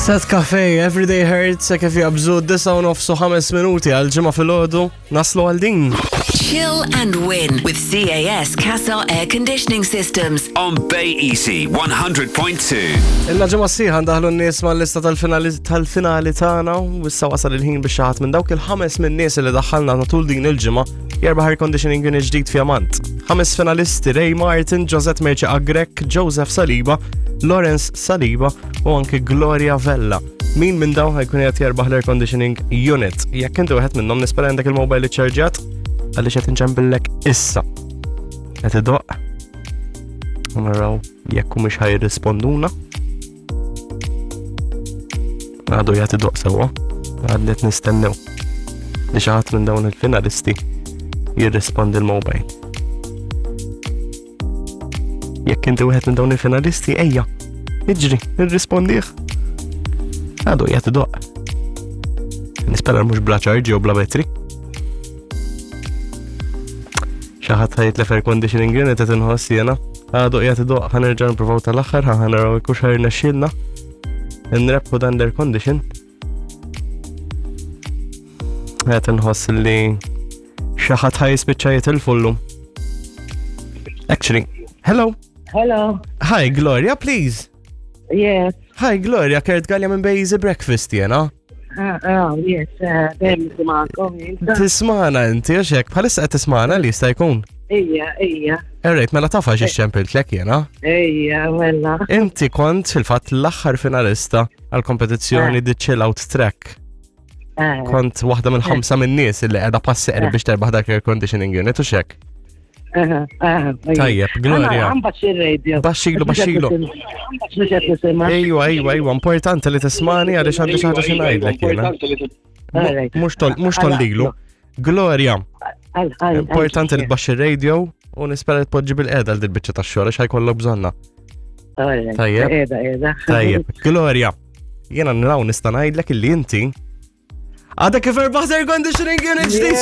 Set Cafe, Everyday Hurts, se kif jabżu 9 u minuti għal ġimgħa filgħodu, naslu għal din. Chill and win with CAS Casa Air Conditioning Systems. On Bay Easy 100.2. Illa ġimgħa sħiħa ndaħlu n-nies mal-lista tal-finali tal-finali tagħna u issa wasal il-ħin biex xi ħadd minn dawk il-ħames minn nies li daħħalna matul din il-ġimgħa jerbaħ air conditioning unit ġdid fjamant. Ħames finalisti Ray Martin, Josette Merċi Agrek, Joseph Saliba, Lawrence Saliba u anke Gloria Vella. Min minn dawn ħajkun qed jerbaħ l-air conditioning unit. Jekk inti wieħed minnhom nispera għandek il-mobile iċċarġjat għaliex qed inċempillek issa. Qed idoqq. U naraw jekk mhux ħajrisponduna. Għadu jagħti doq sewwa. Għadni qed nistennew li xi ħadd minn dawn il-finalisti jirrispondi l-mobile. Jekk inti wieħed minn dawn il-finalisti, ejja, iġri, irrispondih. Għadu jagħti doq. Nispera mhux bla ċarġi u bla betri. Xi ħadd ħajtlef air conditioning unit qed inħoss jiena. Għadu qiegħed idoq ħa nerġa' nippruvaw tal-aħħar ħa naraw jekk hux ħajrnexxielna. Nrebħu dan l-air condition. Qed inħoss li xi ħadd ħa jispiċċa jitilfu llum. Actually, hello. Hello. Hi Gloria, please. Yes. Hi Gloria, Kurt Gallia minn Bejzi Breakfast jena. Ah, ah, yes, eh, dejjem nisimgħakom. Tismana inti, għax hekk, bħalissa qed tismana li jista' jkun. Ija, ija. Errejt, mela taf għax ixċempiltlek jena. Ija, mela. Inti kont fil-fatt l-aħħar finalista għal-kompetizzjoni eh. The Chill Out Track. Eh. Kont waħda minn ħamsa minn nies li qiegħda passi qrib biex terbaħ dak air conditioning unit u xek. Tajjeb, Gloria. Baxxilu, baxxilu. Ejwa, ejwa, ejwa, importanti li tismani għaliex għandi xi ħaġa xi ngħidlek jiena. Mhux tollilu. Gloria, importanti li tbaxxi radio u nispera li tpoġġi bil-qeda għal dil-biċċa tax-xogħol għax ħajkollok bżonna. Tajjeb. Tajjeb. Gloria, jiena nraw nista' ngħidlek illi inti Għada kif erbaħt air conditioning unit ġdid.